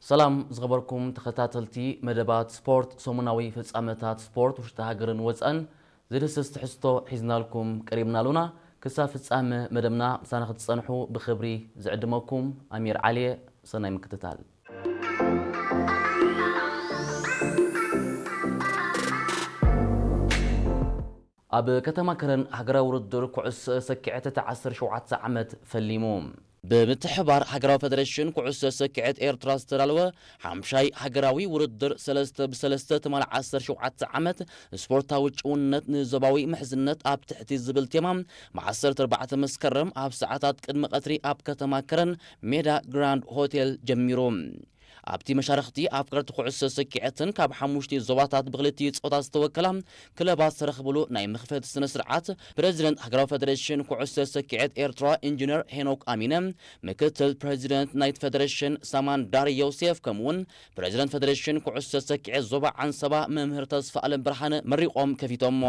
ሰላም ዝኸበርኩም ተኸታተልቲ መደባት ስፖርት፣ ሰሙናዊ ፍጻመታት ስፖርት ውሽጢ ሃገርን ወጻእን ዝድስስ ትሕዝቶ ሒዝናልኩም ቀሪብና ኣሉና። ክሳብ ፍጻመ መደብና ምሳና ክትጸንሑ ብኽብሪ ዝዕድመኩም ኣሚር ዓሊየ። ሰናይ ምክትታል። ኣብ ከተማ ከረን ሃገራዊ ውድድር ኩዕሶ ሰኪዐት እቲ ዓሰርተ ሸውዓተ ዓመት ፈሊሙ። ብምትሕባር ሃገራዊ ፈደሬሽን ኩዕሶ ሰኪዐት ኤርትራ ዝተዳለወ ሓምሻይ ሃገራዊ ውድድር ሰለስተ ብሰለስተ ትማል ዓሰርተ ሸውዓተ ዓመት ስፖርታዊ ጭውነት ንዞባዊ ምሕዝነት ኣብ ትሕቲ ዝብል ቴማ ብ ዓሰርተ ኣርባዕተ መስከረም ኣብ ሰዓታት ቅድሚ ቀትሪ ኣብ ከተማ ከረን ሜዳ ግራንድ ሆቴል ጀሚሩ። ኣብቲ መሻርኽቲ ኣፍቀርቲ ኩዕሶ ሰኪዐትን ካብ ሓሙሽተ ዞባታት ብክልቲኡ ጾታ ዝተወከላ ክለባት ዝተረኽብሉ ናይ መኽፈቲ ስነ ስርዓት ፕሬዚደንት ሃገራዊ ፈደሬሽን ኩዕሶ ሰኪዐት ኤርትራ ኢንጂነር ሄኖክ ኣሚነ፣ ምክትል ፕሬዚደንት ናይቲ ፈደሬሽን ሳማን ዳሪ ዮሴፍ ከምኡውን ፕሬዚደንት ፈደሬሽን ኩዕሶ ሰኪዐት ዞባ ዓንሰባ መምህር ተስፋ ኣለም ብርሃነ መሪቖም ከፊቶሞ።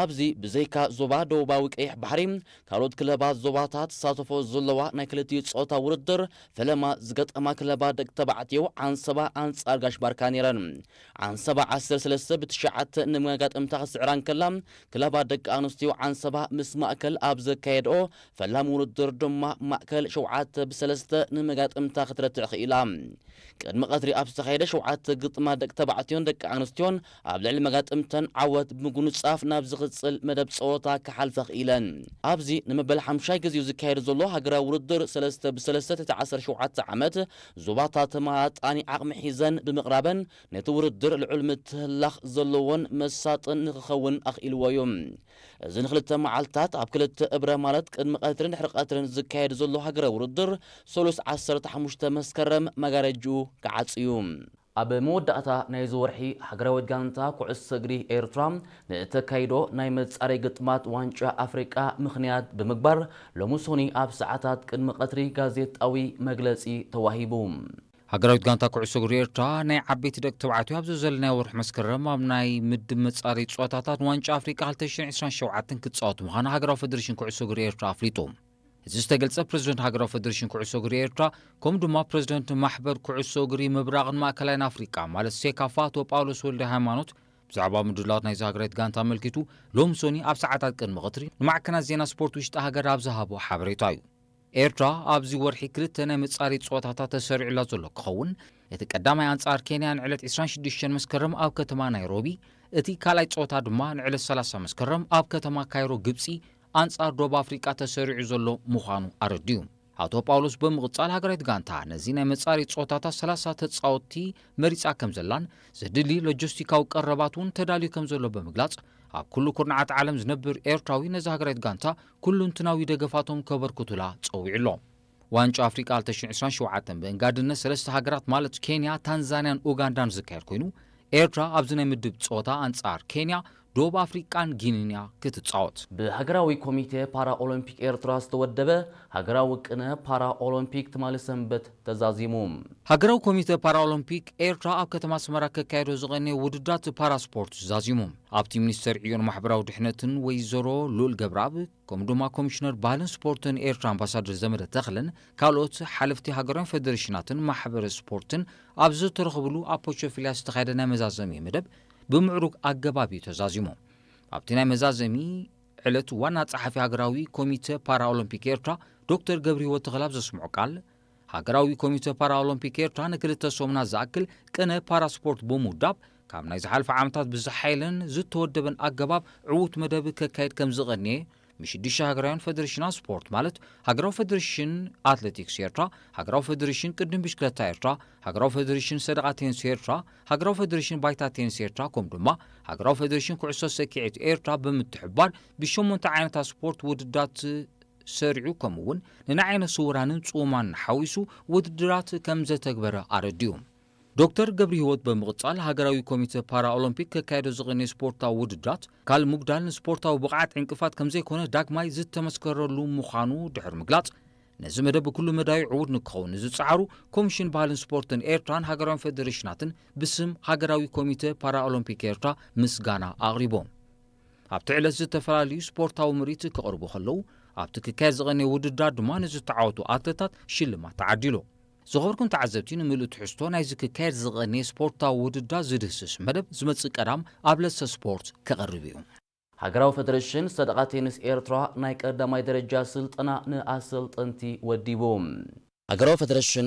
ኣብዚ ብዘይካ ዞባ ደቡባዊ ቀይሕ ባሕሪ ካልኦት ክለባት ዞባታት ዝሳተፎ ዘለዋ ናይ ክልቲኡ ጾታ ውድድር ፈለማ ዝገጠማ ክለባት ደቂ ተባዕትዮ ዓንሰባ ኣንጻር ጋሽ ባርካ ነይረን። ዓንሰባ ዓሰርተ ሰለስተ ብትሽዓተ ንመጋጥምታ ክስዕራ እንከላ፣ ክለባት ደቂ ኣንስትዮ ዓንሰባ ምስ ማእከል ኣብ ዘካየድኦ ፈላሚ ውድድር ድማ ማእከል ሸውዓተ ብሰለስተ ንመጋጥምታ ክትረትዕ ክኢላ። ቅድሚ ቀትሪ ኣብ ዝተኻየደ ሸውዓተ ግጥማት ደቂ ተባዕትዮን ደቂ ኣንስትዮን ኣብ ልዕሊ መጋጥምተን ዓወት ብምጉንጻፍ ናብ ዝቕጽል መደብ ጸወታ ክሓልፋ ክኢለን። ኣብዚ ንመበል ሓምሻይ ግዜኡ ዝካየድ ዘሎ ሃገራዊ ውድድር ሰለስተ ብሰለስተ ትሕቲ ዓሰርተ ሸውዓተ ዓመት ዞባታት ተመጣጣኒ ዓቕሚ ሒዘን ብምቕራበን ነቲ ውድድር ልዑል ምትህልላኽ ዘለዎን መሳጥን ንክኸውን ኣኽኢልዎ እዩ። እዚ ንክልተ መዓልታት ኣብ ክልተ እብረ ማለት ቅድሚ ቀትርን ድሕሪ ቀትርን ዝካየድ ዘሎ ሃገራዊ ውድድር ሰሉስ ዓሰርተ ሓሙሽተ መስከረም መጋረጅኡ ክዓጽ እዩ። ኣብ መወዳእታ ናይዚ ወርሒ ሃገራዊት ጋንታ ኩዕሶ እግሪ ኤርትራ ንእተካይዶ ናይ መጻረይ ግጥማት ዋንጫ ኣፍሪቃ ምኽንያት ብምግባር ሎሚ ሶኒ ኣብ ሰዓታት ቅድሚ ቀትሪ ጋዜጣዊ መግለጺ ተዋሂቡ። ሃገራዊት ጋንታ ኩዕሶ እግሪ ኤርትራ ናይ ዓበይቲ ደቂ ተባዕትዮ ኣብ ዘዘለናዮ ወርሒ መስከረም ኣብ ናይ ምድብ መጻረይ ጸወታታት ዋንጫ ኣፍሪቃ ክልተ ሽሕን ዕስራን ሸውዓተን ክትጻወት ምዃና ሃገራዊ ፈደሬሽን ኩዕሶ እግሪ ኤርትራ ኣፍሊጡ። እዚ ዝተገልጸ ፕሬዚደንት ሃገራዊ ፈደሬሽን ኩዕሶ እግሪ ኤርትራ ከምኡ ድማ ፕሬዚደንት ማሕበር ኩዕሶ እግሪ ምብራቕን ማእከላይን ኣፍሪቃ ማለት ሴካፋ ኣቶ ጳውሎስ ወልደ ሃይማኖት ብዛዕባ ምድላዋት ናይዚ ሃገራዊት ጋንታ ኣመልኪቱ ሎሚ ሶኒ ኣብ ሰዓታት ቅድሚ ቀትሪ ንማዕከናት ዜና ስፖርት ውሽጢ ሃገር ኣብ ዝሃቦ ሓበሬታ እዩ። ኤርትራ ኣብዚ ወርሒ ክልተ ናይ መጻረይ ጸወታታት ተሰሪዑላ ዘሎ ክኸውን፣ እቲ ቀዳማይ ኣንጻር ኬንያ ንዕለት ዕስራን ሽዱሽተን መስከረም ኣብ ከተማ ናይሮቢ፣ እቲ ካልኣይ ጸወታ ድማ ንዕለት ሰላሳ መስከረም ኣብ ከተማ ካይሮ ግብጺ ኣንጻር ደቡብ ኣፍሪቃ ተሰሪዑ ዘሎ ምዃኑ ኣረዲኡ። ኣቶ ጳውሎስ ብምቕጻል ሃገራዊት ጋንታ ነዚ ናይ መጻረይ ጸወታታት ሰላሳ ተጻወትቲ መሪጻ ከም ዘላን ዘድሊ ሎጂስቲካዊ ቀረባት እውን ተዳልዩ ከም ዘሎ ብምግላጽ ኣብ ኩሉ ኩርናዓት ዓለም ዝነብር ኤርትራዊ ነዚ ሃገራዊት ጋንታ ኩሉንትናዊ ደገፋቶም ከበርክቱላ ጸዊዑ ኣሎ። ዋንጫ ኣፍሪቃ ክልተ ሽሕን ዕስራን ሸውዓተን ብእንጋድነት ሰለስተ ሃገራት ማለት ኬንያ፣ ታንዛንያን ኡጋንዳን ዝካየድ ኮይኑ ኤርትራ ኣብዚ ናይ ምድብ ጸወታ ኣንጻር ኬንያ፣ ደቡብ ኣፍሪቃን ጊኒን እያ ክትጻወት። ብሃገራዊ ኮሚቴ ፓራ ኦሎምፒክ ኤርትራ ዝተወደበ ሃገራዊ ቅነ ፓራ ኦሎምፒክ ትማሊ ሰንበት ተዛዚሙ። ሃገራዊ ኮሚተ ፓራኦሎምፒክ ኤርትራ ኣብ ከተማ ኣስመራ ከካየዶ ዝቐነየ ውድድራት ፓራስፖርት ዛዚሙ። ኣብቲ ሚኒስተር ዕዮን ማሕበራዊ ድሕነትን ወይዘሮ ሉል ገብረኣብ፣ ከምኡ ድማ ኮሚሽነር ባህልን ስፖርትን ኤርትራ ኣምባሳደር ዘመደ ተኽለን ካልኦት ሓለፍቲ ሃገራውያን ፌደሬሽናትን ማሕበረ ስፖርትን ኣብ ዝተረኽብሉ ኣብ ፖቾፊልያ ዝተኻየደ ናይ መዛዘሚ መደብ ብምዕሩግ ኣገባብ እዩ ተዛዚሙ። ኣብቲ ናይ መዛዘሚ ዕለት ዋና ጸሓፊ ሃገራዊ ኮሚተ ፓራኦሎምፒክ ኤርትራ ዶክተር ገብረህይወት ተኽለ ኣብ ዘስምዖ ቃል፣ ሃገራዊ ኮሚተ ፓራኦሎምፒክ ኤርትራ ንክልተ ሰሙናት ዝኣክል ቅነ ፓራስፖርት ብምውዳብ፣ ካብ ናይ ዝሓለፈ ዓመታት ብዝሓየለን ዝተወደበን ኣገባብ ዕዉት መደብ ከካይድ ከም ዝቐንየ፣ ምስ ሽዱሽተ ሃገራውያን ፌደሬሽናት ስፖርት ማለት ሃገራዊ ፌደሬሽን ኣትሌቲክስ ኤርትራ፣ ሃገራዊ ፌደሬሽን ቅድም ብሽክለታ ኤርትራ፣ ሃገራዊ ፌደሬሽን ሰደቓ ቴኒስ ኤርትራ፣ ሃገራዊ ፌደሬሽን ባይታ ቴኒስ ኤርትራ፣ ከምኡ ድማ ሃገራዊ ፌደሬሽን ኩዕሶ ሰኪዔት ኤርትራ ብምትሕብባር ብሸሞንተ ዓይነታት ስፖርት ውድድራት ሰሪዑ፣ ከምኡ እውን ንናይ ዓይነ ስውራንን ጽሙማን ሓዊሱ ውድድራት ከም ዘተግበረ ኣረዲኡ። ዶክተር ገብረህይወት ብምቕጻል፣ ሃገራዊ ኮሚተ ፓራኦሎምፒክ ከካየዶ ዝቐነየ ስፖርታዊ ውድድራት፣ ካል ምጉዳል ንስፖርታዊ ብቕዓት ዕንቅፋት ከም ዘይኮነ ዳግማይ ዝተመስከረሉ ምዃኑ ድሕሪ ምግላጽ፣ ነዚ መደብ ብኩሉ መዳዩ ዕዉት ንክኸውን ንዝጸዓሩ ኮሚሽን ባህልን ስፖርትን ኤርትራን ሃገራውያን ፌደሬሽናትን ብስም ሃገራዊ ኮሚተ ፓራኦሎምፒክ ኤርትራ ምስጋና ኣቕሪቦም። ኣብቲ ዕለት ዝተፈላለዩ ስፖርታዊ ምርኢት ክቐርቡ ከለዉ፣ ኣብቲ ክካየድ ዝቐነየ ውድድራት ድማ ንዝተዓወቱ ኣትለታት ሽልማት ተዓዲሉ። ዝኸበርኩም ተዓዘብቲ፣ ንምሉእ ትሕዝቶ ናይዚ ክካየድ ዝቐነየ ስፖርታዊ ውድድር ዝድህስስ መደብ ዝመጽእ ቀዳም ኣብ ለሰ ስፖርት ክቐርብ እዩ። ሃገራዊ ፈደረሽን ሰደቓ ቴኒስ ኤርትራ ናይ ቀዳማይ ደረጃ ስልጠና ንኣሰልጠንቲ ወዲቡ። ሃገራዊ ፈደረሽን